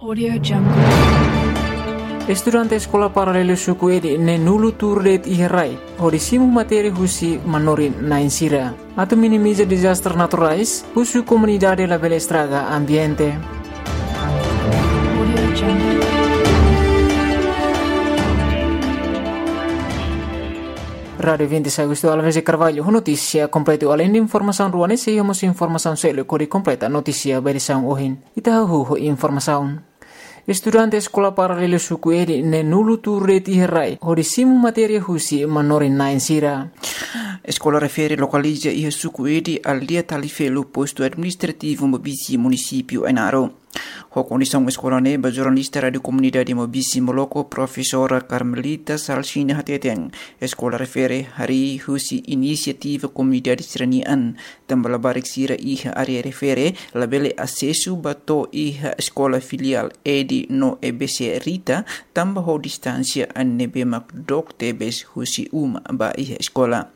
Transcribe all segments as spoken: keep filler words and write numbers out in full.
Audio Jungle. Estudante eskola paralelu suku Edi neen-nulu tuur de'it iha rai hodi simu matéria husi manorin-na'in sira. Atu minimiza dezastre naturais, husu komunidade labele estraga ambiente. Audio Jungle. Rádiu vinte Agostu, Alves de Carvalho, ho notísia kompletu. Aleinde informasaun rua ne'e, sei iha mós informasaun seluk hodi kompleta notísia ba edisaun ohin. Ita hahú ho informasaun. Estudante eskola paralelu suku Edi neen-nulu tuur de'it iha rai hodi simu matéria husi manorin-na'in sira. Eskola refere lokaliza iha suku Edi, aldeia Talifelu, postu administrativu Maubisse, munisípiu Ainaro. Ho kondisaun eskola ne'e ba jornalista Rádiu Komunidade Maubisse Moloko, profesora Carmelita Salsina hateten, eskola refere harii husi inisiativa komunidade sira-nian, tanba labarik sira iha área refere labele asesu ba to'o iha eskola filiál Edi no E B C Rita, tanba ho distánsia ne'ebé mak dook tebes husi uma ba iha eskola.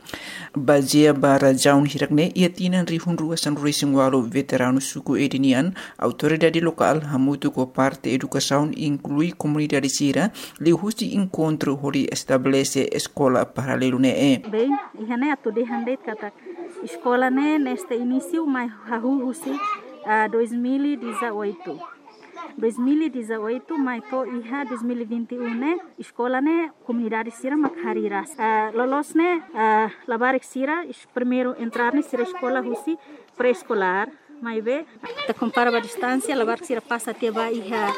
Bazeia ba razaun hirak ne'e, iha tinan rihun rua sanulu-resin-ualu, veteranu suku Edi nian, autoridade lokál hamutuk ho parte edukasaun, inklui komunidade sira, liuhusi enkontru hodi estabelese eskola paralelu ne'e. Bem, iha ne'e atu dehan de'it katak eskola ne'e neste inísiu mai hahú husi, ah, dois mil e dezoito. Dois mil e dezoito mai to'o iha dois mil e vinte e um ne'e, eskola ne'e komunidade sira mak harii rasik. Ah, loloos ne'e, ah, labarik sira, es-, primeiru entrar ne'e sira eskola husi pré-eskolár, maibé ita kompara ba distánsia, labarik sira pasa tiha ba iha,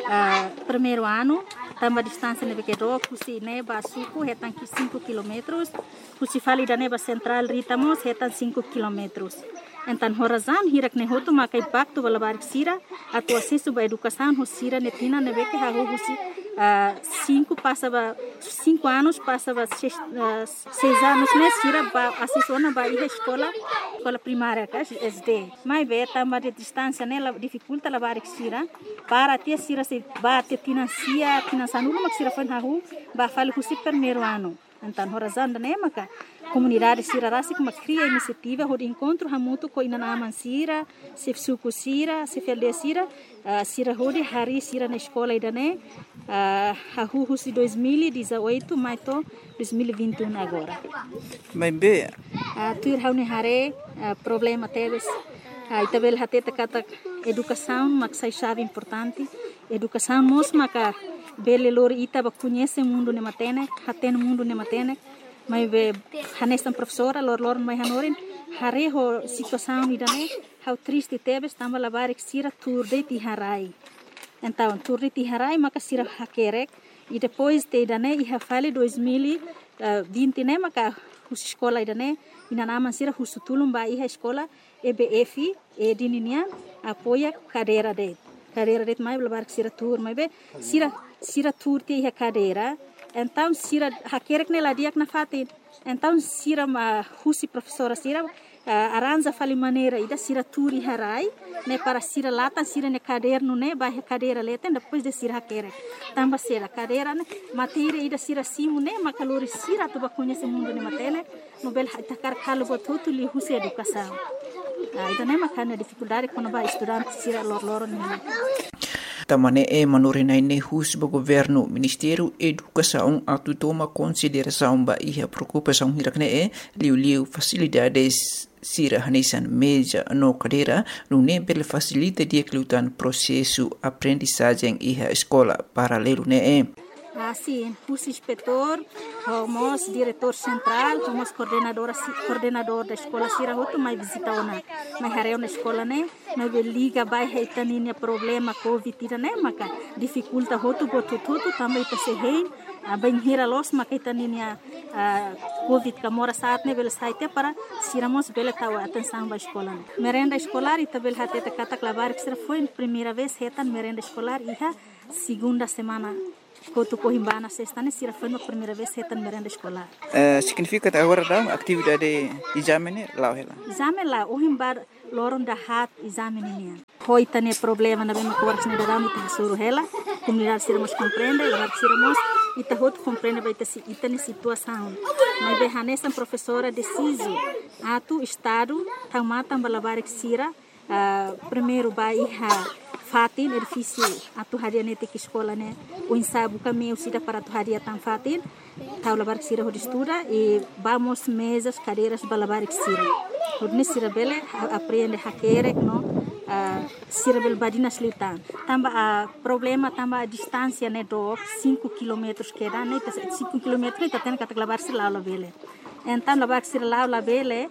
ah, primeiru anu, tanba distánsia ne'ebé ke dook, husi ne'e ba suku hetan ki-, cinco quilómetros, husi fali ida-ne'e ba sentrál Rita mós hetan cinco quilómetros. Entaun, ho razaun hirak ne'e hotu maka impaktu ba labarik sira atu asesu ba edukasaun, ho sira-nia tinan ne'ebé ke hahú husi, ah, cinco pasa ba, cinco anos pasa ba seis, ah, seis anos ne'e sira ba asesu ona ba iha eskola, eskola primária ka S D. Maibé tanba distánsia ne'e la, difikulta labarik sira, para tiha sira sei ba tiha tinan sia, tinan sanulu mak sira foin hahú ba fali husi primeiru anu. Entaun, ho razaun ida-ne'e maka komunidade sira rasik mak kria inisiativa hodi enkontru hamutuk ho inan-aman sira, xefe suku sira, xefe aldeia sira, ah, sira hodi harii sira-nia eskola ida-ne'e, ah, hahú husi dois mil e dezoito mai to'o dois mil e vinte e um agora. Maibé, ah, tuir ha'u-nia haree, ah, problema tebes, ah, ita bele hatete katak edukasaun mak sai xave importante. Edukasaun mós maka bele lori ita ba koñese mundu ne'e matenek, hatene mundu ne'e matenek. Maibé hanesan profesora, lor-, loron mai hanorin, haree ho situasaun ida-ne'e, ha'u triste tebes tanba labarik sira tuur de'it iha rai. Entaun, tuur de'it iha rai maka sira hakerek, i depois tiha ida-ne'e iha fali dois mil e vinte ne'e maka husi eskola ida-ne'e, inan-aman sira husu tulun ba iha eskola E B F, Edi ninian, apoia kadeira de'it. Kadeira de'it maibé labarik sira tuur, maibé sira, sira tuur tiha iha kadeira. Entaun sira hakerek ne'e la di'ak nafatin. Entaun sira mak husi profesora sira, ah, arranja fali maneira ida sira tuur iha rai ne'e para sira latan sira-nia kadernu ne'e ba iha kadeira leten, depois de sira hakerek. Tanba sira kadeira ne'e matéria ida sira simu ne'e maka lori sira atu ba koñese mundu ne'e matenek, no bele ita hakarak halo buat hotu liuhusi edukasaun. Ah, ida-ne'e maka ha'u-nia difikuldade kona-ba estudante sira lor-loron ne'e. Tanba ne'e manorin-na'in ne'e husu ba governu, Ministériu Edukasaun atu toma konsiderasaun ba iha preokupasaun hirak ne'e, liuliu fasilidades sira hanesan meza no kadeira, nune'e bele fasilita di'ak liután prosesu aprendizajen iha eskola paralelu ne'e. Ah, sin, husi inspetór, ho mós diretór sentrál, ho mós koordenadora si-, koordenadór da eskola sira hotu mai vizita ona, mai haree ona eskola ne'e, maibé liga ba iha ita ninia problema covid ida-ne'e maka difikulta hotu buat hotu-hotu tanba ita sei hein, ah, bainhira loos maka ita ninia, ah, covid ka moras-aat ne'e bele sai tiha para sira mós bele tau atensaun ba eskola ne'e. Merenda eskolár, ita bele hatete katak labarik sira foin primeira vez hetan merenda eskolár iha segunda semana kotuk ohin ba ona sesta ne'e sira foin primeira vez hetan merenda eskolár. Eh, signifika katak agora daudaun atividade ezame ne'e la'o hela? Ezame la'o, ohin ba loron dahaat ezame ninian. Ho ita-nia problema ne'ebé mak oras ne'e daudaun ita hasoru hela, komunidade sira mós komprende, labarik sira mós, ita hotu komprende ba ita si-, ita-nia situasaun. Maibé hanesan profesora desize atu Estadu tau matan ba labarik sira, ah, primeiru ba iha Fatin edifísiu atu hadi'a netik eskola ne'e, oinsá buka meius ida para atu hadi'a tan fatin, tau labarik sira hodi estuda, i ba mós mezas, kadeiras ba labarik sira. Hodi nune'e sira bele ha-, aprende hakerek no, ah, sira bele badinas liután. Tanba, ah, problema tanba distánsia ne'e dook, cinco quilómetros kedas, ne'e ita, cinco quilómetros ne'e ita hatene katak labarik sira la'o labele. Entaun labarik sira la'o labele,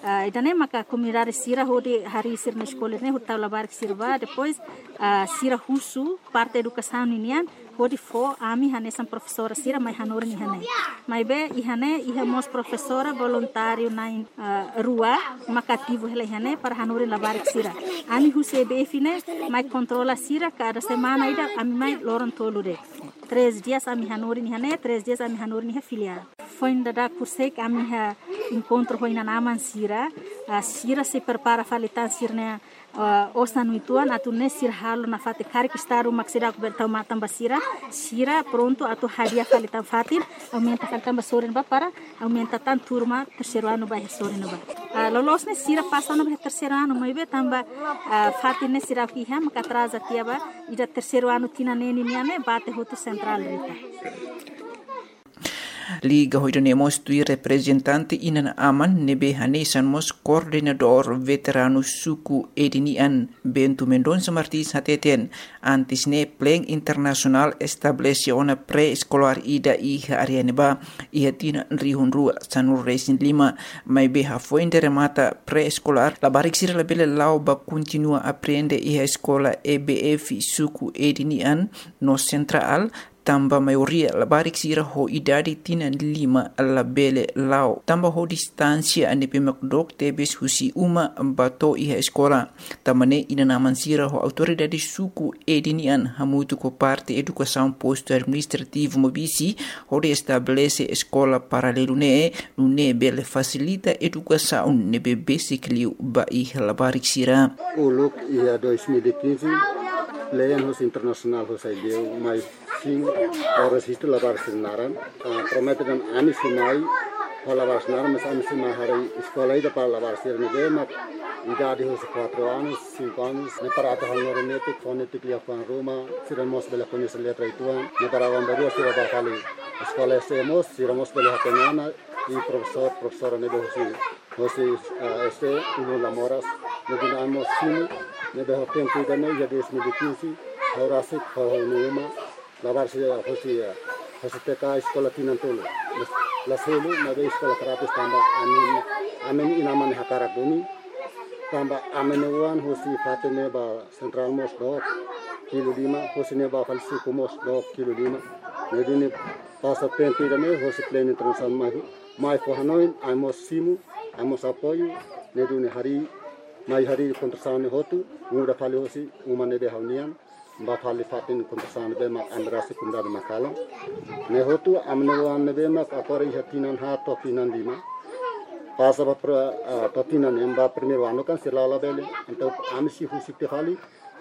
ah, ida-ne'e maka komunidade sira hodi harii sira-nia eskola ne'e, hodi tau labarik sira ba, depois, ah, sira husu parte edukasaun ninian, hodi fó ami hanesan profesora sira mai hanorin iha ne'e. Maibé iha ne'e iha mós profesora voluntáriu na'in, ah, rua maka ativu hela iha ne'e para hanorin labarik sira. Ami husi E B F ne'e mai kontrola sira kada semana ida, ami mai loron tolu de'it. Três dias ami hanorin iha ne'e, três dias ami hanorin iha filiál. Foin dadauk horiseik ami iha enkontru ho inan-aman sira, ah, sira sei prepara fali tan sira-nia, ah, osan uitoan atu nune'e sira halo nafatin, karik Estadu mak seidauk bele tau matan ba sira, sira prontu atu hadi'a fali tan fatin, aumenta fali tan ba sorin ba para aumenta tan turma terseiru anu ba iha sorin ba. Ah, loloos ne'e sira pasa ona ba iha terseiru anu, maibé tanba, ah, fatin ne'e sira iha maka atraza tiha ba, ida terseiru anu tinan neen nian ne'e bate hotu sentrál rita. Liga ho ida-ne'e mós tuir reprezentante inan-aman ne'ebé hanesan mós koordenadór veteranu suku Edi nian, Bento Mendonça Martins hateten, antes ne'e plan internasionál estabelese ona pré-eskolár ida iha área ne'ebá iha tinan rihun rua sanulu resin lima, maibé hafoin de remata pré-eskolár, labarik sira labele la'o ba kontinua aprende iha eskola E B F suku Edi nian no sentrál, tanba maioria labarik sira ho idade tinan lima labele la'o, tanba ho distánsia ne'ebé mak dook tebes husi uma ba to'o iha eskola. Tanba ne'e inan-aman sira ho autoridade suku Edi nian hamutuk ho parte edukasaun postu administrativu Mobisi hodi estabelese eskola paralelu ne'e, nune'e bele fasilita edukasaun ne'ebé besik liu ba iha labarik sira. Uluk iha dois mil e quinze, plan hosi internasionál hosi Aileu mai simu, oras istu labarik sira naran. Ah, promete dehan ami sei mai ho labarik sira naran, mas ami sei mai harii eskola ida para labarik sira ne'ebé mak idade hosi quatro anos, cinco anos, ne'e para atu hanorin netik, fó netik liafuan ruma, sira mós bele koñese letra uitoan, ne'e para aban-bainrua sira ba fali eskola S E mós, sira mós bele hatene ona, i profesór, profesora ne'ebé hosi hosi, eh, S E ulun la moras, ne'e duni ami mós simu, ne'ebé ho tempu ida-ne'e iha dois mil e quinze, ha'u rasik, ha'u ho ha'u-nia uma, labarik sira hosi, eh, hosi T K eskola tinan tolu. Mas la selu, maibé eskola gratis tanba ami, ami inan-aman hakarak duni, tanba ami-nia oan hosi fatin ne'e ba sentrál mós dook kilu lima, hosi ne'e ba fali suku mós dook kilu lima. Ne'e duni pasa tempu ida-ne'e, hosi plan internasionál mai, mai fó hanoin, ami mós simu, ami mós apoiu, ne'e duni harii, mai harii konstrusaun ne'e hotu, muda fali hosi uma ne'ebé ha'u-nian, ba fali fatin konstrusaun ne'ebé mak ami rasik komunidade mak halo. Ne'e hotu, ami-nia oan ne'ebé mak agora iha tinan haat to'o tinan lima. Pasa ba pra, ah, to'o tinan neen ba primeiru anu kan sira la'o labele. Entaun ami sei husik tiha fali,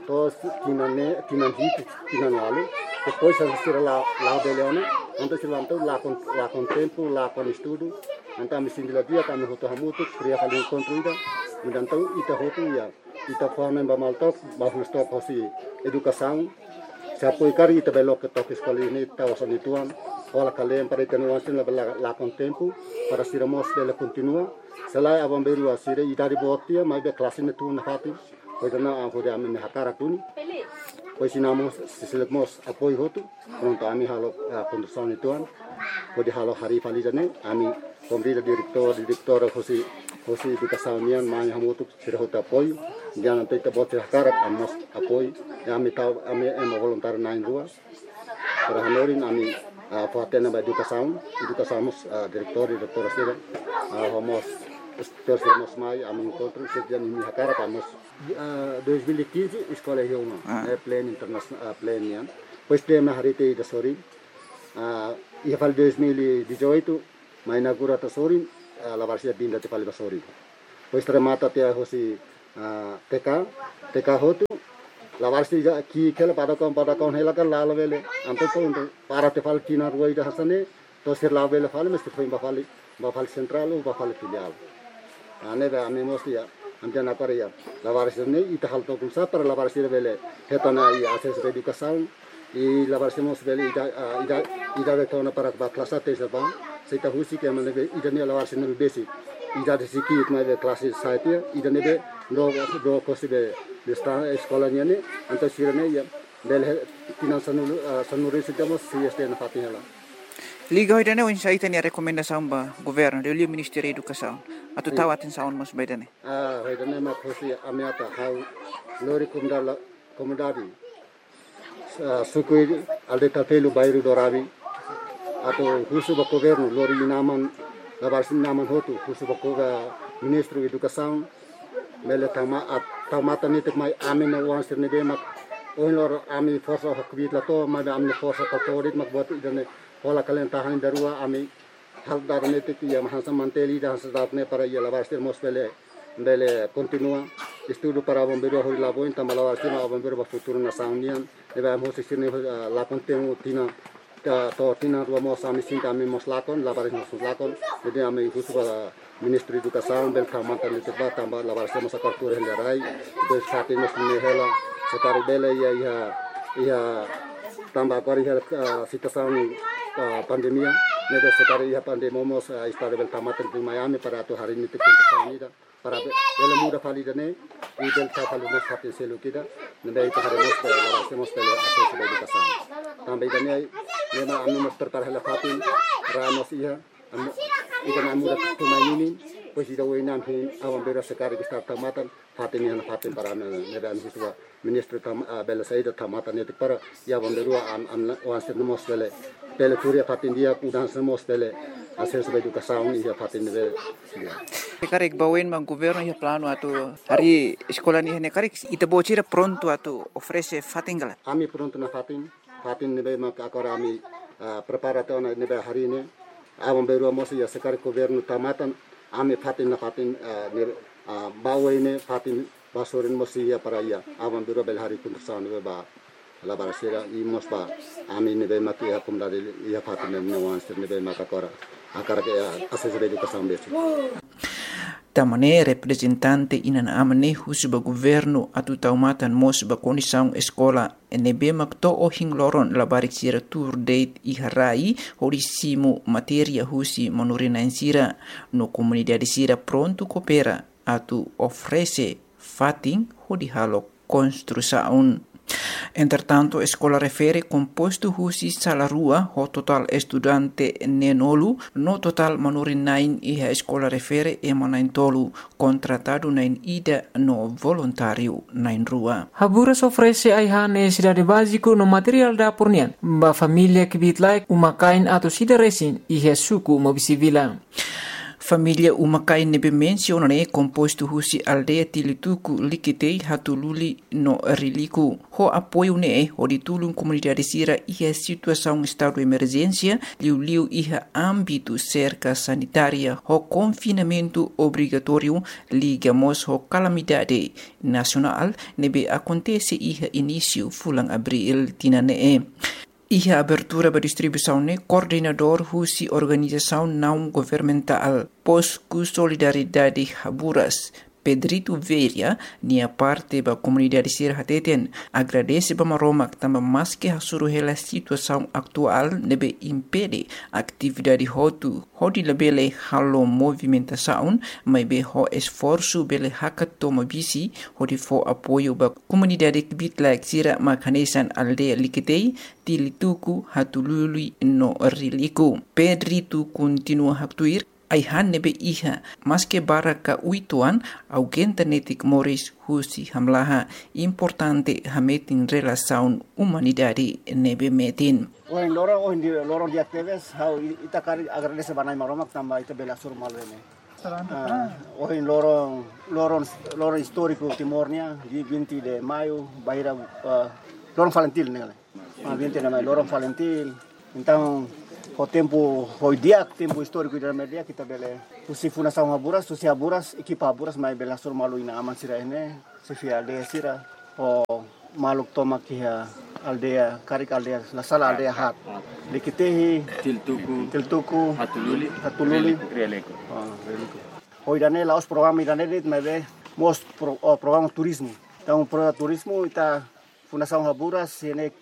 to'o tinan ne'e, tinan hitu, tinan ualu. Depois sira la'o, la'o labele ona, entaun sira entaun lakon, lakon tempu, lakon estudu. Entaun ami sente la di'ak, ami hotu hamutuk, kria fali enkontru ida. Entaun ita hotu iha, ita fó hanoin ba malu took, ba husi took hosi edukasaun. Sei apoiu karik ita bele loke took eskola ne'e, ita osan uitoan, hola kle'an para ita-nia oan sira labele la, lakon tempu, para sira mós bele kontinua. Se lae aban-bainrua sira idade boot tiha, maibé klase ne'e tun nafatin. Pois na, ah, hodi ami-nia hakarak duni. Pois inan-aman sira seluk mós apoiu hotu. Prontu ami halo, ah, konstrusaun uitoan. Hodi halo harii fali ida-ne'e, ami konvida diretór, diretora hosi, hosi edukasaun nian, mai hamutuk sira hotu apoiu. Dehan entaun ita-boot sira hakarak, ami mós apoiu. I ami tau, ami ema voluntáriu na'in-rua. Para hanorin ami, ah, fó hatene ba edukasaun, edukasaun mós, ah, diretór, diretora sira, ah, ho mós, instrutór sira mós mai, ami enkontru, sira dehan imi hakarak, ami mós. Ah, dois mil e quinze, eskola iha uma, ah, eh, plan internasionál, ah, plan nian. Depois plan ne'e harii tiha ida sorin. Ah, iha fali dois mil e dezoito, mai inaugura tiha sorin, ah, labarik sira biin tiha fali ba sorin. Depois remata tiha hosi, ah, T K, T K hotu, labarik sira ki'ik hela, padahkan, padahkan hela kan la'o labele. Entaun prontu, para tiha fali tinan rua ida hanesan ne'e, to'o sira labele fali, mas sira foin ba fali, ba fali sentrál ou ba fali filiál. Ah, ne'ebé ami mós iha, Entaun agora iha labarik sira-ne'e ita halo to'o oinsá para labarik sira bele hetan ona iha asesu ba edukasaun. I labarik sira mós bele ida, ah, ida, ida bele tona para ba klase até ba. Se ita husik ema ne'ebé ida-ne'e labarik sira ne'ebé besik. Ida desik maibé klase sete, ida ne'ebé do, do kosi be, be esta eskola nian ne'e, entaun sira-ne'e iha bele he, tinan sanulu, ah, sanulu-resin ita mós sei estudante nafatin hela. Liga ho ida-ne'e, oinsá ita-nia rekomendasaun ba governu, liuliu Ministériu Edukasaun, atu tau atensaun mós ba ida-ne'e. Ah, ho ida-ne'e mak hosi ami ata ha'u lori komunidade, komunidade, ah, suku Aldeia Talpelu, bairru Dorabi, atu husu ba governu, lori inan-aman, labarik sira inan-aman hotu, husu ba ko-, ba Ministru Edukasaun, bele tama, ah, tau matan netik mai ami-nia oan sira ne'ebé mak ohin loron ami forsa ho kbiit la to'o, maibé ami-nia forsa ka to'o de'it mak buat ida-ne'e hola kalen tahan ida rua ami halo dada netik iha hanesan manteli ida hanesan dada ne'e para iha labarik sira mós bele, bele kontinua estudu para aban-bainrua hodi la'o ba oin tanba labarik sira mak aban-bainrua ba futuru nasaun nian. Ne'ebé ami husi sira-ne'e, ah, lakon temu tinan, ta, to'o tinan rua mós ami sente ami mós lakon, labarik mós lakon. Jadi ami husu ba Ministru Edukasaun bele tau matan netik ba tanba labarik sira mós hakarak tuur hela rai. Depois fatin mós ne'e hela, se karik bele iha, iha, iha tanba agora iha, ah, situasaun, ah, pandemia, ne'ebé se karik iha pandemia mós, ah, Estadu bele tau matan netik mai ami para atu harii netik kondisaun ida, para be-, bele muda fali ida-ne'e, i bele tau fali mós fatin seluk ida, ne'ebé ita haree mós bele, labarik sira mós bele asesu ba edukasaun. Tanba ida-ne'e, ne'e mak ami mós prepara hela fatin, rai mós iha, ami, ida-ne'e ami muda tun mai ninin, depois ida oin ami aban-bainrua se karik Estadu tau matan, fatin nian fatin para ami, ne'ebé ami husu ba Ministru tau ma-, ah, bele saida tau matan netik para iha aban-bainrua am, am, oan sira mós bele, bele tuur iha fatin di'ak, udan sira mós bele asesu ba edukasaun iha fatin ne'ebé di'ak. Se karik ba oin mak governu iha planu atu harii eskola nian ne'e karik, ita-boot sira prontu atu oferese fatin ka lae? Ami prontu nafatin, fatin ne'ebé mak agora ami, ah, prepara tiha ona ne'ebé harii ne'e. Aban-bainrua mós iha se karik governu tau matan, ami fatin nafatin, ah, ne'e, ah, ba oin ne'e fatin ba sorin mós iha para iha aban-bainrua bele harii konstrusaun ne'ebé ba labarik sira i mós ba ami ne'ebé mak iha komunidade iha fatin ne'e, nia oan sira ne'ebé mak agora hakarak, ah, asesu ba edukasaun besik. Tanba ne'e reprezentante inan-aman ne'e husu ba governu atu tau matan mós ba kondisaun eskola ne'ebé mak to'o ohin loron labarik sira tuur de'it iha rai hodi simu matéria husi manorin-na'in sira, no komunidade sira prontu koopera atu oferese fatin hodi halo konstrusaun. Entretantu, eskola refere kompostu husi sala rua ho totál estudante neenulu, no totál manorin-na'in iha eskola refere ema na'in-tolu, kontratadu na'in-ida no voluntáriu na'in-rua. Haburas oferese ai-han nesesidade báziku no materiál dapur nian ba família kbiit-laek uma-kain atus ida resin iha suku Mobisivila. Família uma-kain ne'ebé mensiona ne'e kompostu husi aldeia Tilituku, Likitei, Hatululi no Riliku. Ho apoiu ne'e hodi tulun komunidade sira iha situasaun estadu emerjénsia, liuliu iha ámbitu serka sanitária ho konfinamentu obrigatóriu, liga mós ho kalamidade nasionál ne'ebé akontese iha inísiu fulan Abríl tinan ne'e. Iha abertura ba distribuisaun ne'e, koordenadór husi organizasaun naun-governamentál Posku Solidariedade Haburas, Pedrito Vieira, nia parte ba komunidade sira hateten, agradese ba Maromak tanba maske hasoru hela situasaun atuál ne'ebé impede atividade hotu hodi labele halo movimentasaun, maibé ho esforsu bele hakat to'o Mobisi hodi fó apoiu ba komunidade kbiit-laek sira mak hanesan aldeia Likitei, Tilituku, Hatululi no Riliku. Pedrito kontinua haktuir, ai-han ne'ebé iha, maske barak ka uitoan, aguenta netik moris husi hamlaha, importante hametin relasaun umanidade ne'ebé metin. Ohin loron, ohin di-, loron di'ak tebes, ha'u i-, ita karik agradese ba Na'i Maromak tanba ita bele hasoru malu ne'e. Ah, ohin loron, loron, loron istóriku Timor nian, dia vinte de maio, bainhira, ah, loron Falintil ne'e. Ah, vinte de maio, loron Falintil. Entaun, ho tempu, ho di'ak, tempu istóriku ida-ne'e di'ak, ita bele husi fundasaun Haburas, husi Haburas, ekipa Haburas mai bele hasoru malu inan-aman sira ne'e, xefe aldeia sira, ho maluk tomak iha aldeia, karik aldeia, la sala aldeia haat. Likitehi, Tiltuku, Tiltuku, Hatululi, Hatululi, Riliku. Ah, Riliku. Ho ida-ne'e la'ós programa ida-ne'e de'it, maibé mós pro-, oh, programa turizmu. Entaun programa turizmu ita Fundasaun Haburas ne'e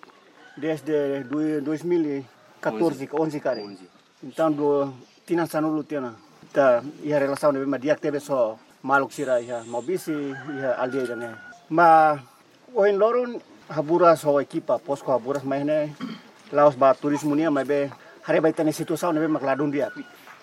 desde dui-, dois mil e catorze, onze karik. Entaun, tinan sanulu tiha ona. Ita iha relasaun ne'ebé mak di'ak tebes ho maluk sira iha Maubisse, iha aldeia ida-ne'e. Maibé ohin loron Haburas ho ekipa posko Haburas mai ne'e la'ós ba turizmu nian, maibé haree ba ita-nia situasaun ne'ebé mak ladún di'ak.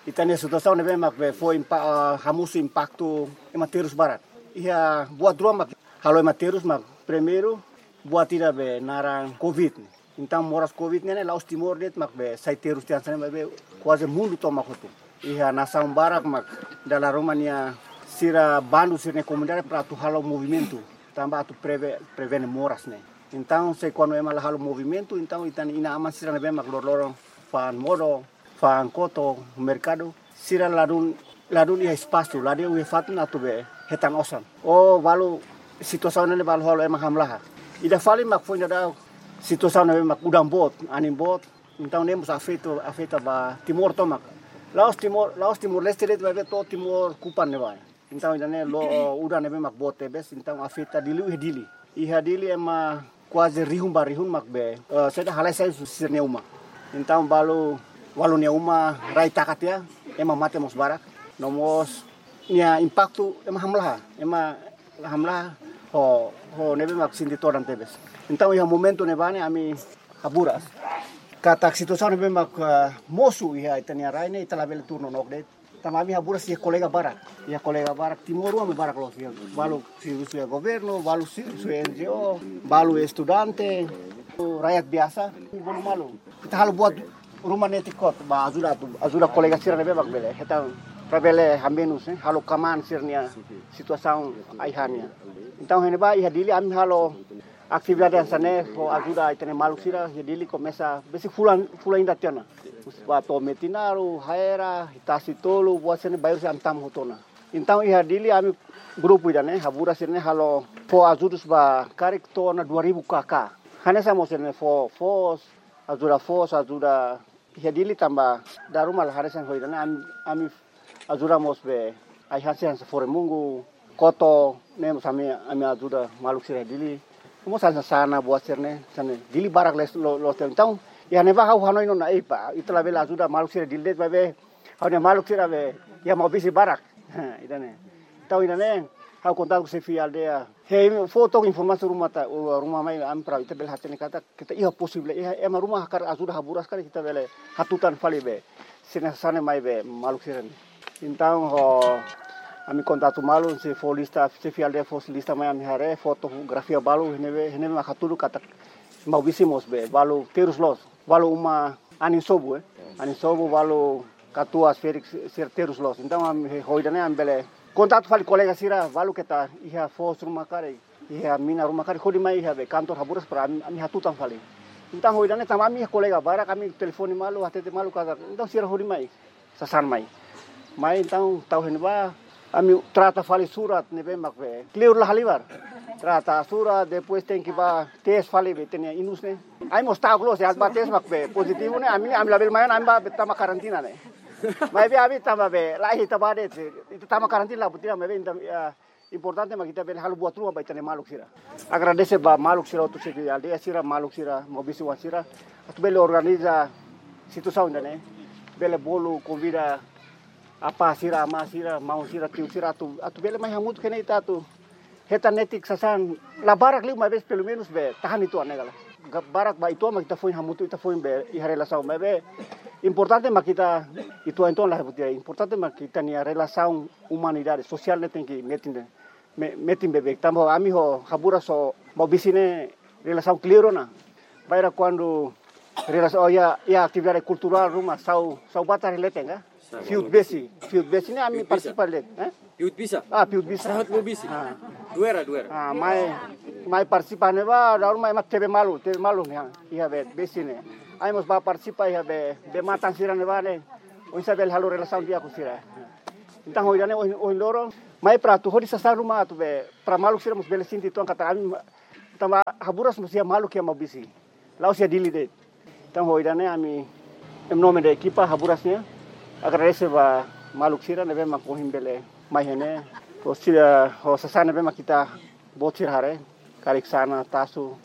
Ita-nia situasaun ne'ebé mak be fó impa-, ah, hamosu impaktu ema terus barak. Iha buat rua mak halo ema terus, mak primeiru buat ida be naran covid. Entaun moras covid ne'e la'ós Timor de'it mak be sai terus tiha hanesan ne'e, maibé kuaze mundu tomak hotu. Iha nasaun barak mak dala ruma nia sira bandu sira-nia komunidade para atu halo movimentu, tanba atu preve-, prevene moras ne'e. Entaun se kuandu ema la halo movimentu, entaun ita-nia inan-aman sira ne'ebé mak loroloron fa'an modo, fa'an koto, merkadu, sira ladún, ladún iha espasu, ladún iha fatin atu be hetan osan. Ou balu situasaun ne'e balu halo ema hamlaha. Ida fali mak foin dadauk situasaun ne'ebé mak udan boot, anin boot. Entaun ne'e mós afeta, afeta ba Timor tomak. La'ós Timor, la'ós Timor-Leste de'it, maibé to'o Timor kupan ne'ebá. Entaun ida-ne'e la'o udan ne'ebé mak boot tebes, entaun afeta Dili, iha Dili. Iha Dili ema kuaze rihun ba rihun mak be, eh, sira halai sai husi sira-nia uma. Entaun balu, balu nia uma rai taka tiha, ema mate mós barak. No mós nia impaktu ema hamlaha, ema hamlaha ho, ho ne'ebé mak sente todan tebes. Entaun iha momentu ne'ebá ne'e ami Haburas katak situasaun ne'ebé mak, eh, mosu iha ita-nia rai ne'e ita labele tuur nonook de'it. Tanba ami Haburas iha kolega barak. Iha kolega barak, timoroan barak loos iha. Balu servisu iha governu, balu servisu iha N G O, balu estudante, rakyat biasa. Balu malu. Ita halo buat ruma netik hotu, ba ajuda atu, ajuda kolega sira ne'ebé mak bele. Ita para bele hamenus, eh, halo kmaan sira-nia situasaun ai-han nian. Entaun iha ne'ebá iha Dili ami halo atividade hanesan ne'e, fó ajuda ita-nia maluk sira, iha Dili komesa besik fulan, fulan ida tiha ona. Ba to'o Metinaro, Haera, Tasi Tolu, buat sira-ne'e bairru sira ami tama hotu ona. Entaun iha Dili ami grupu ida-ne'e, Haburas sira-ne'e halo fó ajuda ba karik to'o ona dua ribu K K. Hanesan mós sira-ne'e fó, foos, ajuda foos, ajuda iha Dili tanba dala ruma la hanesan ho ida-ne'e ami, ami ajuda mós be ai-han sira hanesan fore-mungu, koto, ne'e mós ami, ami ajuda maluk sira Dili. Mós hanesan sana buat sira-ne'e, hanesan Dili barak loos, lo-, loos tiha. Entaun, iha ne'ebá ha'u hanoin ona, eh, ba, ita labele ajuda maluk sira Dili de'it, maibé ha'u-nia maluk sira be iha Maubisse barak. Ida-ne'e. Entaun ida-ne'e, ha'u kontaktu xefe aldeia. He, fó took informasaun ruma ta, ruma mai ami para ita bele hatene katak, katak iha posible, iha ema ruma hakarak ajuda Haburas karik ita bele hatutan fali be. Sira-ne'e hanesan ne'e mai be maluk sira-ne'e. Entaun ho ami kontaktu malu, sei fó lista, xefe aldeia fó lista mai ami haree, fotografia balu, iha ne'ebé, iha ne'ebé mak hatudu katak Maubisse mós be, balu terus loos, balu uma anin sobu, eh. Anin sobu balu katuas ferik sira terus loos. Entaun ami ho ida-ne'e ami bele kontaktu fali kolega sira, balu keta iha foos ruma karik, iha mina ruma karik, hodi mai iha be kantor Haburas para ami, ami hatutan fali. Entaun ho ida-ne'e tanba ami iha kolega barak, ami telefone malu, hatete malu katak. Entaun sira hodi mai, sasán mai. Mai entaun tau iha ne'ebá, ami trata fali surat ne'ebé mak be kleur la halimar. Trata surat, depois tenke bá tes fali be ita-nia inus ne'e. Ai mós ta'uk loos, se atu bá tes mak be pozitivu ne'e, ami, ami labele mai ona, ami bá be tama karantina ne'e. Maibé ami tama be, la iha ita bá de'it, ita tama karantina la buat ida, maibé ita, ah, importante mak ita bele halo buat ruma ba ita-nia maluk sira. Agradese ba maluk sira hotu, xefe aldeia sira, maluk sira, Maubisse oan sira, atu bele organiza situasaun ida-ne'e, bele bolu konvida apá sira, amá sira, maun sira, tiu sira, atu, atu bele mai hamutuk iha ne'e ita atu hetan netik sasán, la barak liu maibé pelumenus be tahan uitoan ne'e kala. Ga-, barak ba uitoan mak ita foin hamutuk, ita foin be iha relasaun, maibé importante mak ita uitoan-uitoan la buat ida, importante mak ita-nia relasaun umanidade, sosiál ne'e tenke metin de'it. Me-, metin beibeik. Tanba ami ho Haburas ho Maubisse ne'e relasaun kleur ona. Bainhira kuandu relasaun, oh, iha, iha atividade kulturál ruma, sa'u, sa'u batar leten ka? Fiut besi, fiut besi ne'e ami partisipa de'it, eh? Fiut bisa? Ah, fiut bisa. Sahat Maubisse. Ah. Duera, duera. Ah, mai, mai partisipa ne'ebá, dala ruma ema tebe malu, tebe malu ne'e, iha be, besi ne'e. Ami mós bá partisipa iha be, be matan sira ne'ebá ne'e. Oinsá bele halo relasaun di'ak ho sira. Entaun ho ida-ne'e ohin, ohin loron, mai para atu hodi sasán ruma atu be, para maluk sira mós bele sente uitoan katak ami, tanba Haburas mós iha maluk iha Maubisse. La'ós iha Dili de'it. Entaun ho ida-ne'e ami, em nome da equipa Haburas nian, agradese ba maluk sira ne'ebé mak ohin bele mai iha ne'e, Ho sira, ho sasán ne'ebé mak ita-boot sira haree, karik sana, tasu,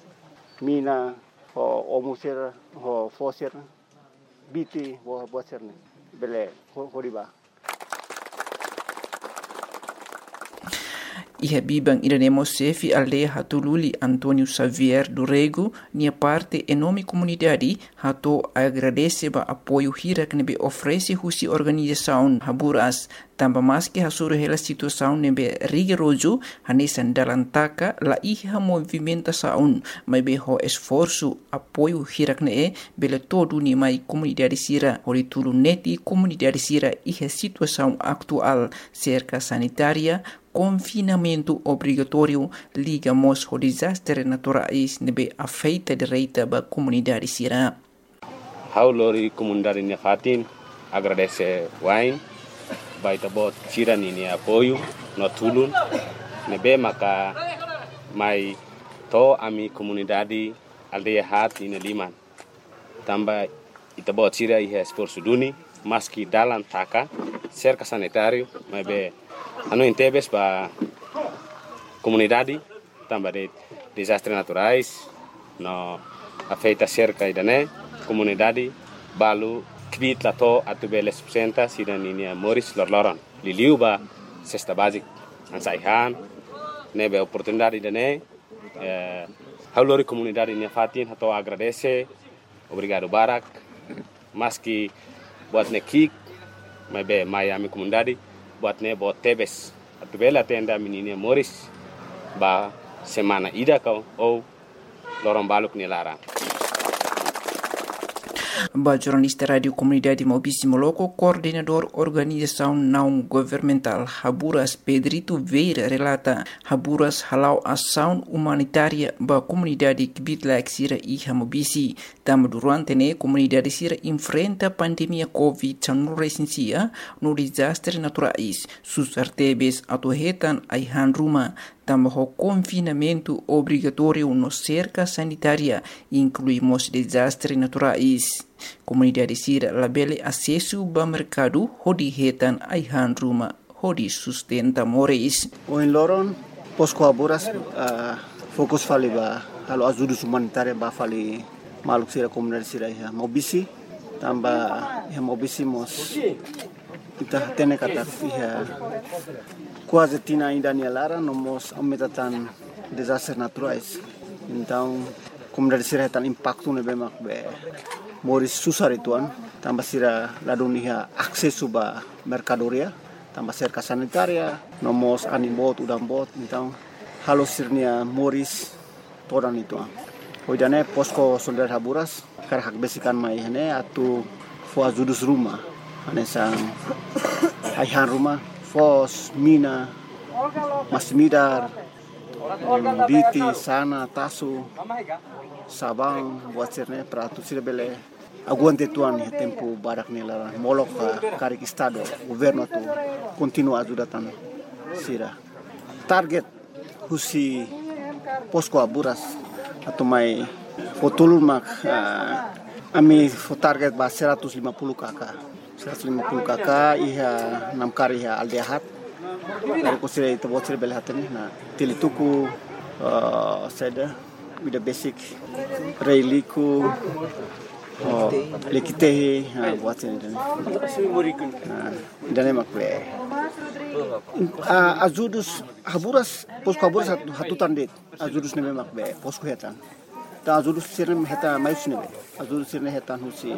mina, ho omo sira, ho fó sira, biti, ho buat sira-ne'e. Bele, ho, hodi bá. Iha biban ida-ne'e mós xefe aldeia Hatululi António Xavier do Rego nia parte, em nome komunidade, hato'o agradese ba apoiu hirak ne'ebé oferese husi organizasaun Haburas, tanba maski hasoru hela situasaun ne'ebé rigorozu, hanesan dalan taka, la iha movimentasaun, maibé ho esforsu, apoiu hirak-ne'e bele to'o duni mai komunidade sira, hodi tulun netik komunidade sira iha situasaun atuál, serka sanitária, konfinamentu obrigatóriu, liga mós ho dezastre naturais ne'ebé afeta direta ba komunidade sira. Ha'u lori komunidade nia fatin agradese wa'in ba ita-boot sira ninia apoiu no tulun ne'ebé maka mai to'o ami komunidade aldeia haat nia liman. Tanba ita-boot sira iha esforsu duni, maski dalan taka, serka sanitáriu, maibé hanoin tebes ba komunidade, tanba de'it dezastre naturais no afeta serka ida-ne'e, komunidade balu kbiit la to'o atu bele sustenta sira ninia moris loroloron. Liuliu ba sesta bázika, hanesan ai-han, ne'ebé oportunidade ida-ne'e, eh, ha'u lori komunidade nia fatin hato'o agradese, obrigadu barak, maski buat ne'e ki'ik, maibé mai ami komunidade, buat ne'e boot tebes. Atu bele atende ami ninia moris ba semana ida ka ou loron baluk nia laran. Ba jornalista Rádiu Komunidade Maubisse Moloko, koordenadór organizasaun naun governamentál Haburas, Pedrito Vieira, relata, Haburas hala'o asaun umanitária ba komunidade kbiit-laek sira iha Maubisse. Tanba durante ne'e komunidade sira enfrenta pandemia covid sanulu-resin-sia no dezastre naturais, susar tebes atu hetan ai-han ruma, tanba ho konfinamentu obrigatóriu no serka sanitária, inklui mós dezastre naturais. Komunidade sira labele asesu ba merkadu hodi hetan ai-han ruma hodi sustenta moris. Ohin loron, Posko Haburas, ah, fokus fali ba halo ajudus umanitária ba fali maluk sira, komunidade sira iha Maubisse, tanba iha Maubisse mós ita hatene katak iha kuaze tinan ida nia laran no mós aumenta tan dezastre naturais. Entaun, komunidade sira hetan impaktu ne'ebé mak be moris susar uitoan, tanba sira ladún iha asesu ba merkadoria, tanba serka sanitária, no mós anin boot, udan boot, entaun halo sira-nia moris todan uitoan. Ohin ida-ne'e Posko Solidariedade Haburas hakarak hakbesik an mai iha ne'e atu fó ajudus ruma, hanesan ai-han ruma, foos, mina, masin-midar, biti, sana, tasu, sabaun, buat sira-ne'e para atu sira bele aguenta uitoan iha tempu badak nia laran, molok, ah, karik Estadu, governu atu kontinua ajuda tan sira. Target husi Posko Haburas atu mai fó tulun mak, ah, ami fó target ba seratus lima puluh K K. Seratus lima puluh K K iha namkari iha aldeia haat. Dari ko sira ita-boot sira bele hatene, nah, Tilituku, ah, saida, Vida Besik, Reiliku, oh, Lekitehi, ah, buat sira-ne'e. Ah, ida-ne'e mak be. Ah, ajudus Haburas, Posko Haburas hatu-, hatutan de'it. Ajudus ne'ebé mak be Posko hetan. Entaun ajudus sira-ne'e hetan mai husi ne'ebé? Ajudus sira-ne'e hetan husi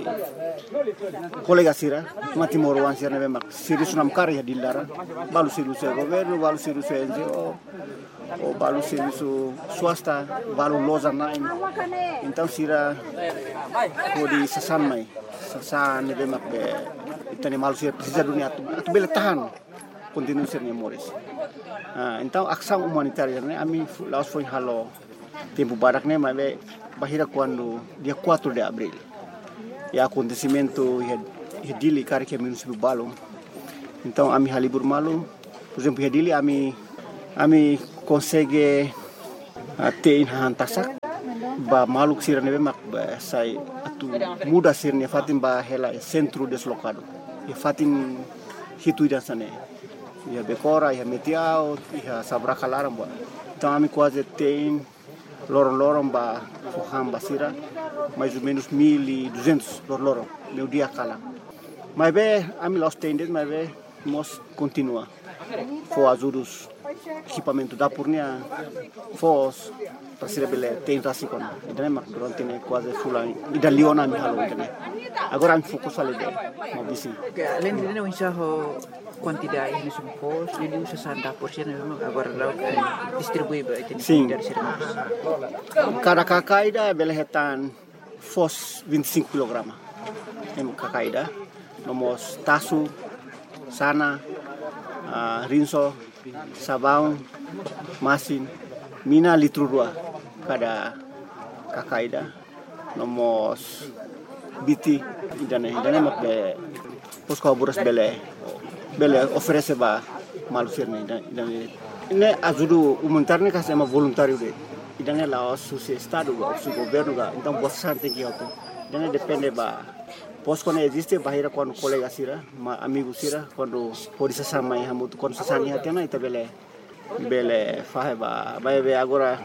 kolega sira, timoroan sira ne'ebé mak servisu namkari iha Dili laran. Balu servisu governu, balu servisu N G O, ou balu servisu swasta, balu loja-na'in. Entaun sira hodi sasán mai, sasán ne'ebé mak be ita-nia maluk sira presiza duni atu, atu bele tahan, kontinua sira-nia moris. Ah, entaun asaun umanitária ne'e ami fu-, la'ós foin halo tempu badak ne'e, maibé bainhira kuandu dia quatro de abril iha akontesimentu iha, iha Dili karik iha munisípiu balu. Entaun ami halibur malu, por ezemplu, iha Dili ami, ami konsege, ah, te'in hahán tasak ba maluk sira ne'ebé mak, ba, sai atu muda sira-nia fatin ba hela iha sentru deslokadu. Iha fatin hitu ida hanesan ne'e. iha Bekora, iha Metiaut, iha Sabraka laran buat. Entaun ami kuaze tein loron-loron ba fó han ba sira, mais ou menus mil e duzentos loron-loron, meiudia kalan. Maibé ami la'ós tein de'it, maibé mós kontinua fó ajudus ekipamentu dapur nian, foos, para sira bele tein rasik ona. Ida-ne'e mak durante ne'e kuaze fulan ida liu ona ami halo ida-ne'e. Agora ami fokus fali ba Maubisse. Oke, além de ne'e, oinsá ho kuantidade ne'e, são foos, liuliu sasán dapur sira-ne'e, agora la'o, eh, distribui ba ita-nia, sin, komunidade sira-ne'e. Kada K K ida bele hetan foos vinte e cinco kilograma. Ema K K ida, no mós tasu, sanan, ah, rinso, sabaun, masin, mina litru rua kada K K ida, no mós biti, ida-ne'e, ida-ne'e mak be Postu Haburas bele, bele oferese ba maluk sira-ne'e, ida, ida-ne'e. Ne'e ajuda umanitáriu ne'e ka ema voluntáriu de'it. Ida-ne'e la'ós husi Estadu ka, husi governu ka, entaun buat sasán tenke hotu. Ida-ne'e depende ba postu ne'e eziste, bainhira kuandu kolega sira, mak amigu sira, kuandu hodi sasán mai hamutuk, kuandu sasán iha tiha ona, ita bele, bele fahe ba, ba, be agora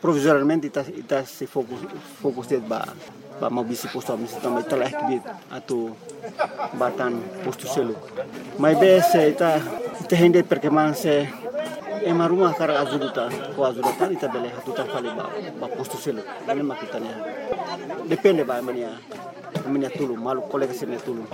provizoriamente ita, ita sei fokus, fokus de'it ba, ba Maubisse postu, Maubisse tanba ita laiha kbiit atu bá tan postu seluk. Maibé se ita, ita hein de'it perkemang se ema ruma hakarak ajuda tan, fó ajuda tan, ita bele hatutan fali ba, ba postu seluk. Ne'e mak ita-nia. Depende ba ema nia, ema nia tulun, maluk kolega sira-nia tulun.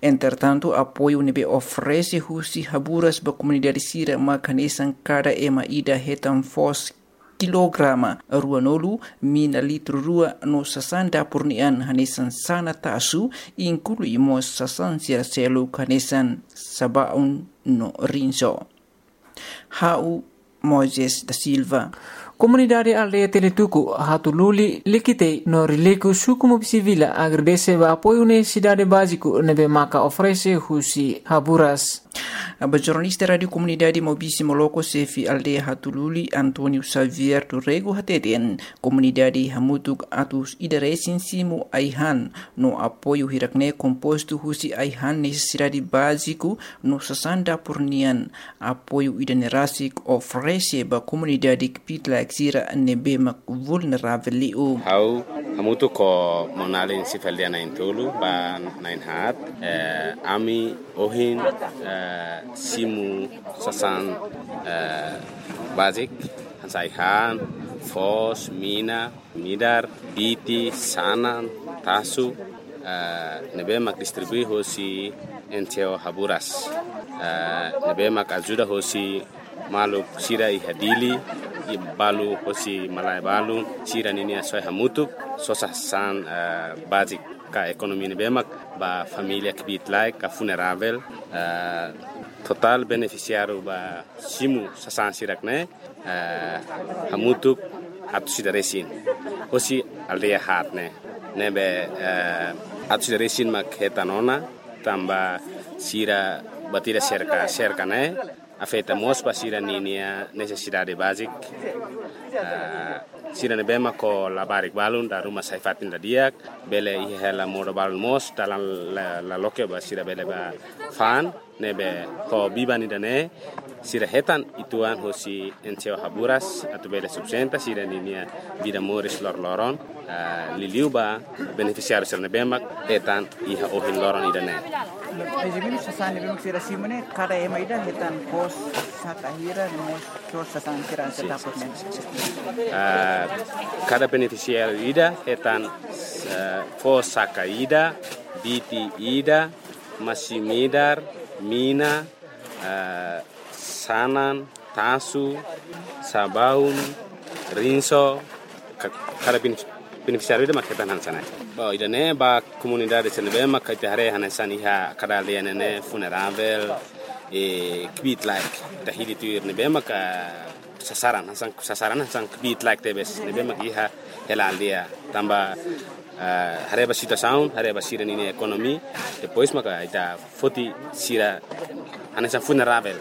Entretantu, apoiu ne'ebé oferese husi Haburas ba komunidade sira mak hanesan kada ema ida hetan foos kilograma ruanulu, mina litru rua no sasán dapur nian hanesan sanan, tasu, inklui mós sasán sira seluk hanesan sabaun no rinso. Ha'u Moisés da Silva. Komunidade aldeia Teletuku, Hatululi, Likitei no Riliku, suku Maubisse Vila, agradese ba apoiu nesesidade báziku ne'ebé maka oferese husi Haburas. Ba jornalista Rádiu Komunidade Maubisse Moloko, xefe aldeia Hatululi, António Xavier do Rego, hateten, komunidade hamutuk atus ida resin simu ai-han, no apoiu hirak-ne'e kompostu husi ai-han nesesidade báziku no sasán dapur nian. Apoiu ida-ne'e rasik oferese ba komunidade kbiit-laek sira ne'ebé mak vulneravel liu. Ha'u hamutuk ho maun-alin xefe aldeia na'in-tolu ba na'in-haat, eh, ami ohin, eh, simu sasán, eh, báziku, hanesan ai-han, foos, mina, midar, biti, sanan, tasu, eh, ne'ebé mak distribui hosi N G O Haburas. Eh, ne'ebé mak ajuda hosi maluk sira iha Dili, i balu hosi malae balun, sira ninia soe hamutuk, sosa sasán, eh, báziku ka ekonomia ne'ebé mak ba família kbiit-laek ka vulneravel, eh, totál benefisiáriu ba simu sasán sira-ne'e, eh, hamutuk atus ida resin. Hosi aldeia haat ne'e. Ne'ebé, eh, atus ida resin mak hetan ona, tanba sira buat ida serka, serka ne'e afeta mós ba sira ninia nesesidade báziku. Eh, sira ne'ebé mak ho labarik balun, dala ruma sai fatin la di'ak, bele iha hela modo balun mós, dalan la, la loke ba sira bele bá fa'an, ne'ebé ho biban ida-ne'e, sira hetan uitoan hosi N G O Haburas, atu bele sustenta sira ninia vida moris loron-loron, ah, liuliu ba benefisiáriu sira ne'ebé mak hetan iha ohin loron ida-ne'e. Mais ou menus sasán ne'ebé mak sira simu ne'e, kada ema ida hetan foos saka hira, no mós foos sasán sira, sin, sasán dapur ne'e. Ah, kada benefisiáriu ida hetan, ah, foos saka ida, biti ida, masin-midar, mina, eh, sanan, tasu, sabaun, rinso, ka-, kada benef-, benefisiáriu ida mak hetan hanesan ne'e. Ba ida-ne'e ba komunidade sira ne'ebé mak ita haree hanesan iha kada aldeia ne'e ne'e vulneravel, eh, kbiit-laek. Ita hili tuir ne'ebé mak, eh, sasaran, hanesan, sasaran hanesan kbiit-laek tebes, ne'ebé mak iha hela aldeia. Tanba, eh, haree ba situasaun, haree ba sira ninia ekonomia, depois maka ita foti sira hanesan vulneravel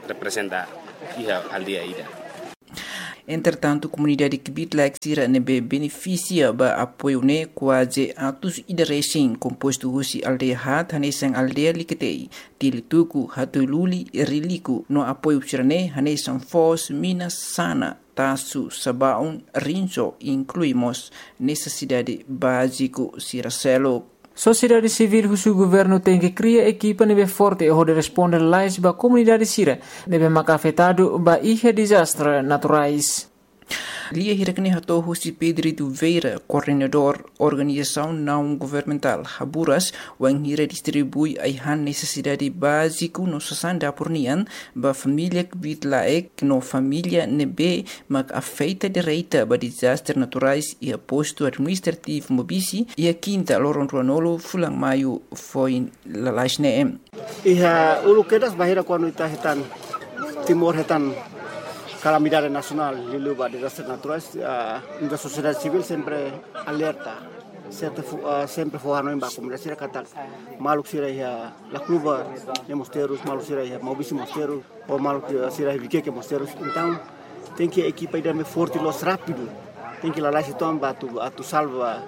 reprezenta iha aldeia ida. Entretantu, komunidade kbiit-laek sira ne'ebé benefisia ba apoiu ne'e kuaze atus ida resin, kompostu husi aldeia haat hanesan aldeia Liketei, Tilituku, Hatululi, Riliku, no apoiu sira-ne'e hanesan foos, mina, sana, tasu, sabaun, rinso, inklui mós nesesidade báziku sira seluk. Sosiedade sivíl husu governu tenke kria ekipa ne'ebé forte hodi responde lalais ba komunidade sira ne'ebé maka afetadu ba iha dezastre naturais. Lia hirak-ne'e hato'o husi Pedrito Vieira, koordenadór organizasaun naun governamentál Haburas, wainhira distribui ai-han nesesidade báziku no sasán dapur nian ba família kbiit-laek no família ne'ebé mak afeta direta ba dezastre naturais iha postu administrativu Maubisse iha kinta loron ruanulu fulan maiu foin lalais ne'e. Iha uluk kedas bainhira kuandu ita hetan, Timor hetan kalamidade nasionál liuliu ba dezastre naturais, ah, ita sosiedade sivíl sempre alerta, sempre fó, ah, sempre fó hanoin ba komunidade sira katak maluk sira iha Lacluba ne'e mós terus, maluk sira iha Maubisse mós terus, ou maluk sira iha Viqueque mós terus. Entaun, tenke ekipa ida ne'ebé forte loos rápidu. Tenke lalais uitoan ba atu, atu salva,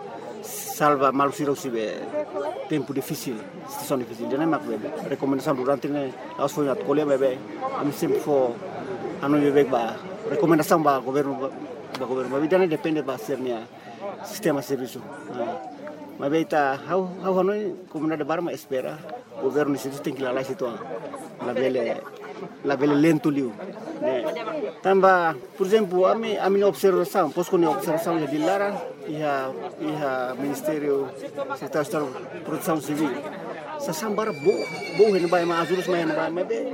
salva maluk sira husi be tempu difisil, situasaun difisil. Ida-ne'e mak be rekomendasaun durante ne'e, la'ós foin atu ko'alia, maibé ami sempre fó hanoin beibeik ba rekomendasaun ba governu, ba, ba governu. Maibé ida-ne'e depende ba sira-nia sistema servisu. Ah. Maibé ita, ha'u, ha'u hanoin komunidade barak mak espera governu nia servisu tenke lalais uitoan. Labele, labele lentu liu. Ne'e. Tanba, por ezemplu, ami, ami-nia observasaun, Posco nia observasaun iha Dili laran, iha, iha Ministériu Sekretáriu Estadu Protesaun Sivíl. Sasán barak boot, boot iha ne'ebá, ema ajudus mai iha ne'ebá, maibé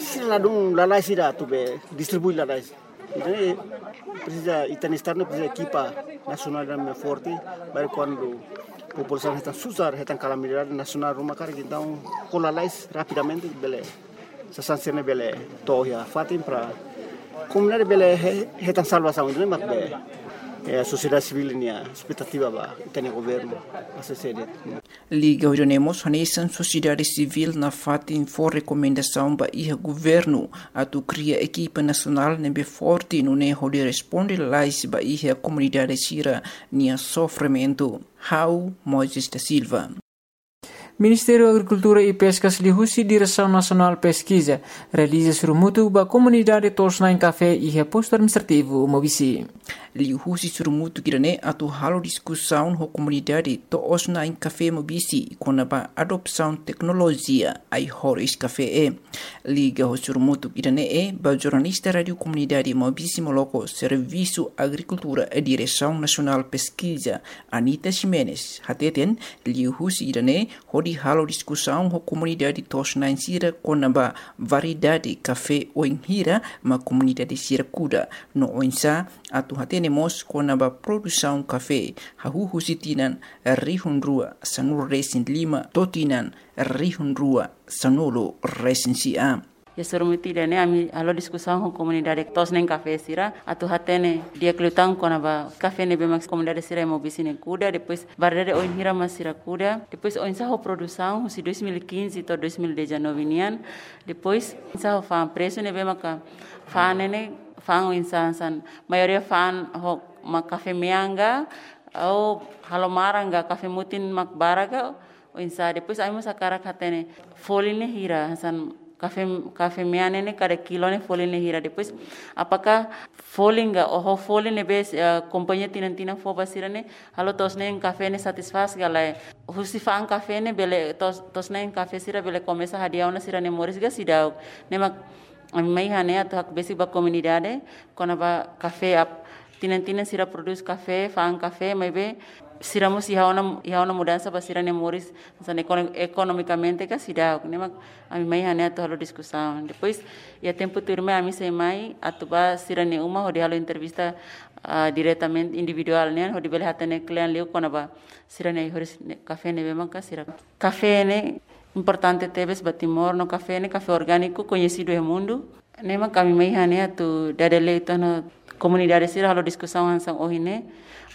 sira ladún lalais ida atu be distribui lalais. Entaun, presiza, ita-nia Estadu ne'e presiza ekipa nasionál ida ne'ebé forte, para kuandu populasaun hetan susar, hetan kalamidade nasionál ruma karik, entaun, ho lalais rapidamente bele, sasán sira-ne'e bele to'o iha fatin para komunidade bele he-, hetan salvasaun, ida-ne'e mak be, eh, sosiedade sivíl nia espetativa ba ita-nia governu, A C C D. Liga ho ida-ne'e mós hanesan sosiedade sivíl nafatin fó rekomendasaun ba iha governu atu kria ekipa nasionál ne'ebé forte nune'e hodi responde lalais ba iha komunidade sira-nia sofrimentu. Ha'u Moisés da Silva. Ministériu Agrikultura i Peskas liuhusi Diresaun Nasionál Peskiza realiza sorumutu ba komunidade to'os-na'in kafé iha postu administrativu Maubisse. Liuhusi sorumutu ida-ne'e atu halo diskusaun ho komunidade to'os-na'in kafé Maubisse kona-ba adopsaun teknolojia ai-horis kafé. Liga ho sorumutu ida-ne'e ba jornalista Rádiu Komunidade Maubisse Moloko, Servisu Agrikultura, Diresaun Nasionál Peskiza, Anita Ximenes, hateten, liuhusi ida-ne'e hodi halo diskusaun ho komunidade to'os-na'in sira kona-ba variedade kafé oinhira mak komunidade sira kuda, no oinsá atu hatene mós kona-ba produsaun kafé, hahú husi tinan rihun rua sanulu resin lima to'o tinan rihun rua sanulu resin sia. Iha sorumutu ida-ne'e ami halo diskusaun ho komunidade to'os-na'in kafé sira atu hatene di'ak liután kona-ba kafé ne'ebé mak komunidade sira iha Maubisse ne'e kuda, depois variedade oinhira mak sira kuda, depois oinsá ho produsaun husi dois mil e quinze to'o dois mil e dezanove nian, depois oinsá ho fa'an presu ne'ebé maka fa'an ne'e, fa'an oinsá hanesan, maioria fa'an ho mak kafé mean ka, ou halo maran ka, kafé mutin mak barak ka, oinsá. Depois ami mós hakarak hatene folin ne'e hira, hanesan kafé, kafé mean ne'e kada kilo ne'e folin ne'e hira. Depois apakah folin ka, ou ho folin ne'ebé, eh, kompañia tinan-tinan fó ba sira ne'e, halo to'os-na'in kafé ne'e satisfás ka lae. Husi fa'an kafé ne'e bele to'os, to'os-na'in kafé sira bele komesa hadi'a ona sira-nia moris ka seidauk. Ne'e mak ami mai iha ne'e atu hakbesik ba komunidade kona-ba kafé ap-, tinan-tinan sira prodús kafé, fa'an kafé, maibé sira mós iha ona, iha ona mudansa ba sira-nia moris, hanesan ekono-, ekonomikamente ka seidauk. Ne'e mak ami mai iha ne'e atu halo diskusaun. Depois, iha tempu tuirmai ami sei mai atu ba sira-nia uma hodi halo entrevista, ah, diretamente individuál nian, hodi bele hatene kle'an liu kona-ba sira-nia ai-horis ne'e, kafé ne'ebé maka sira. Kafé ne'e importante tebes ba Timor, no kafé ne'e, kafé orgániku koñesidu iha mundu. Ne'e mak ami mai iha ne'e atu dada lee uitoan ho komunidade sira halo diskusaun hanesan ohin ne'e,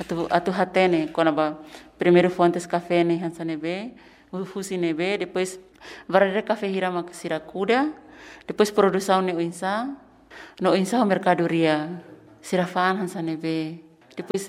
atu, atu hatene kona-ba primeiru fontes kafé ne'e hanesan ne'ebé, hu-, husi ne'ebé, depois variedade kafé hira mak sira kuda, depois produsaun ne'e oinsá, no oinsá ho merkadoria. sira fa'an hanesan ne'ebé. Depois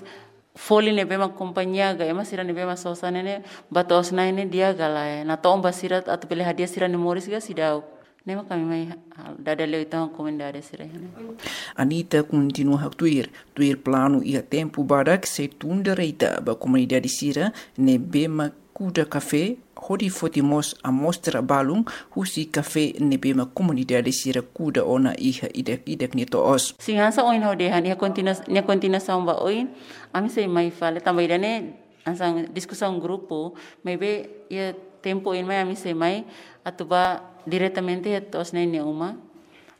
folin ne'ebé mak kompañia ka ema sira ne'ebé mak sosa ne'e, ba to'os-na'in ne'e di'ak ka lae. Natoon ba sira atu bele hadi'a sira-nia moris ka seidauk. Ne'e mak ami mai ha-, dada leu ita-nia komunidade sira ne'e. Anita kontinua haktuir, tuir planu iha tempu badak sei tun direta ba komunidade sira ne'ebé mak kuda kafé, hodi foti mós amostra balun husi kafé ne'ebé mak komunidade sira kuda ona iha ida-idak nia to'os. Sin, hanesan ohin ha'u dehan, iha kontinua-, nia kontinuasaun ba oin, ami sei mai fali, tanba ida-ne'e hanesan diskusaun grupu, maibé iha tempu oin mai ami sei mai atu ba diretamente iha to'os-na'in nia uma.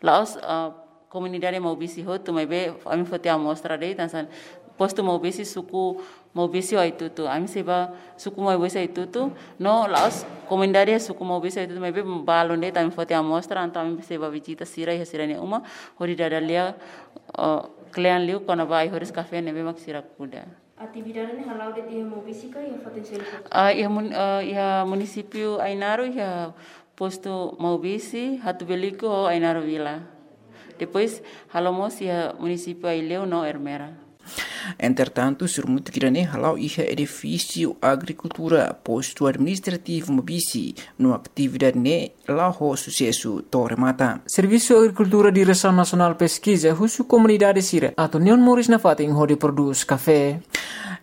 La'ós, ah, komunidade Maubisse hotu, maibé ami foti amostra de'it, hanesan postu Maubisse, suku Maubisse ho Aitutu. Ami sei ba suku Maubisse, Aitutu, no la'ós komunidade suku Maubisse, Aitutu, maibé balun de'it, ami foti amostra, entaun ami sei ba vizita sira iha sira-nia uma, hodi dada lia, ah, kle'an liu kona-ba ai-horis kafé ne'ebé mak sira kuda. Atividade ne'e hala'o de'it iha Maubisse ka iha fatin seluk? Ah, iha mun-, ah, iha munisípiu Ainaro, iha postu Maubisse, Hatubuilico ho Ainaro Vila. Depois halo mós iha munisípiu Aileu no Ermera. Entretantu, sorumutu ida-ne'e hala'o iha edifísiu agrikultura, postu administrativu Maubisse, no atividade ne'e la'o ho susesu to'o remata. Servisu Agrikultura Diresaun Nasionál Peskiza husu komunidade sira atu neon moris nafatin hodi prodús kafé.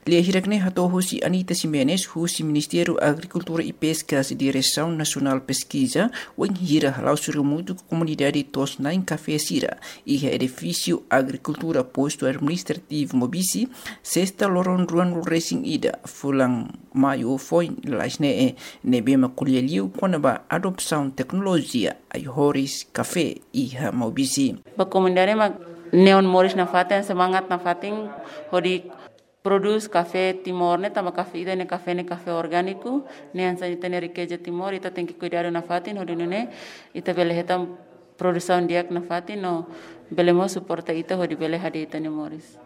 Lia hirak-ne'e hato'o husi Anita Ximenes, husi Ministériu Agrikultura i Peskas, Diresaun Nasionál Peskiza, wainhira hala'o sorumutu ho komunidade to'os-na'in kafé sira iha edifísiu agrikultura, postu administrativu Maubisse, sesta loron ruanulu-resin-ida fulan Maiu foin lalais ne'e, ne'ebé mak ko'alia liu kona-ba adosaun teknolojia ai-horis kafé iha Maubisse. Ba komunidade mak neon moris nafatin, semangat nafatin hodi prodús kafé Timor ne'e, tanba kafé ida-ne'e, kafé ne'e kafé orgániku, ne'e hanesan ita-nia rikeza Timor, ita tenke kuidadu nafatin, hodi nune'e ita bele hetan produsaun di'ak nafatin, no bele mós suporta ita hodi bele hadi'a ita-nia moris.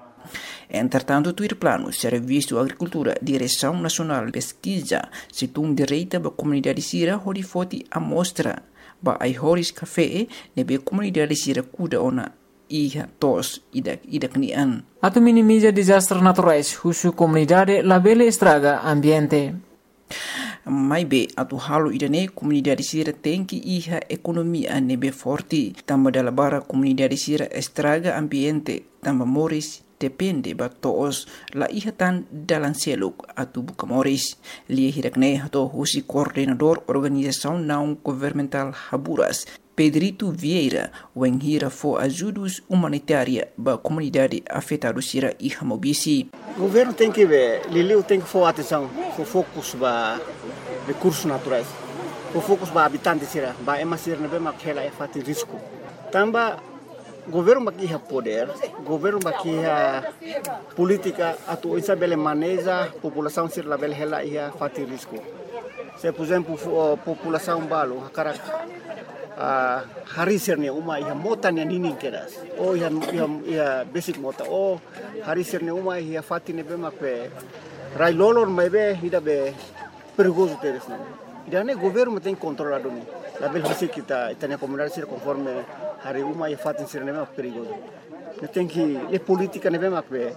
Entretantu, tuir planu, Servisu Agrikultura, Diresaun Nasionál Peskiza, sei tun direta ba komunidade sira hodi foti amostra ba ai-horis kafé ne'ebé komunidade sira kuda ona iha to'os ida-idak nian. Atu minimiza dezastre naturais, husu komunidade labele estraga ambiente. Maibé, atu halo ida-ne'e, komunidade sira tenke iha ekonomia ne'ebé forte, tanba dala barak komunidade sira estraga ambiente, tanba moris depende ba to'os, la iha tan dalan seluk atu buka moris. Lia hirak-ne'e hato'o husi koordenadór organizasaun naun-governamentál Haburas, Pedrito Vieira, wainhira fó ajudus umanitária ba komunidade afetadu sira iha Maubisse. Governu tenke be, liuliu tenke fó atensaun, fó fokus ba rekursus naturais, fó fokus ba abitante sira, ba ema sira ne'ebé mak hela iha fatin risku. Tanba governu mak iha podér, governu mak iha polítika atu oinsá bele maneja populasaun sira labele hela iha fatin risku. Se, por ezemplu, fo-, populasaun balu hakarak, ah, harii sira-nia uma iha mota nia ninin kedas, ou iha, iha, iha besik mota, ou harii sira-nia uma iha fatin ne'ebé mak be rai-lolon, maibé ida be perigozu tebes ne'e. Ida-ne'e governu mak tenke kontrola duni. Labele husik ita, ita-nia komunidade sira konforme harii uma iha fatin sira ne'ebé mak perigozu. Ne'e tenke, ne'e polítika ne'ebé mak be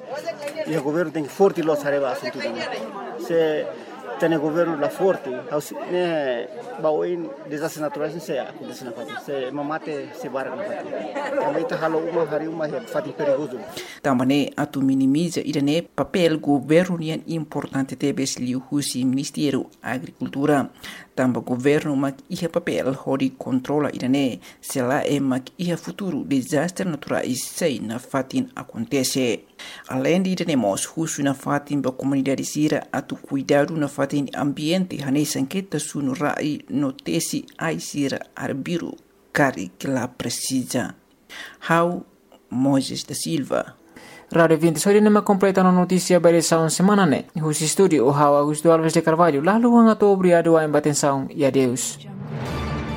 iha governu tenke forte loos haree ba asuntu ida-ne'e. Se ita-nia governu la forte, ha'u sente ne'e ba oin dezastre naturais ne'e sei akontese nafatin, sei ema mate sei barak nafatin. Tanba ita halo uma, harii uma iha fatin perigozu. Tanba ne'e atu minimiza ida-ne'e, papél governu nian importante tebes, liuhusi Ministériu Agrikultura. Tanba governu mak iha papél hodi kontrola ida-ne'e, se lae mak iha futuru dezastre naturais sei nafatin akontese. Aleinde ida-ne'e mós husu nafatin ba komunidade sira atu kuidadu nafatin ambiente, hanesan keta sunu rai no tesi ai sira arbiru karik la presiza. Ha'u Moisés da Silva. Rádiu Vinte, só ida-ne'e mak kompleta ona notísia ba edisaun semana ne'e. Husi estúdiu, ha'u Augusto Alves de Carvalho, la haluha hato'o obrigadu ba atensaun, i adeus.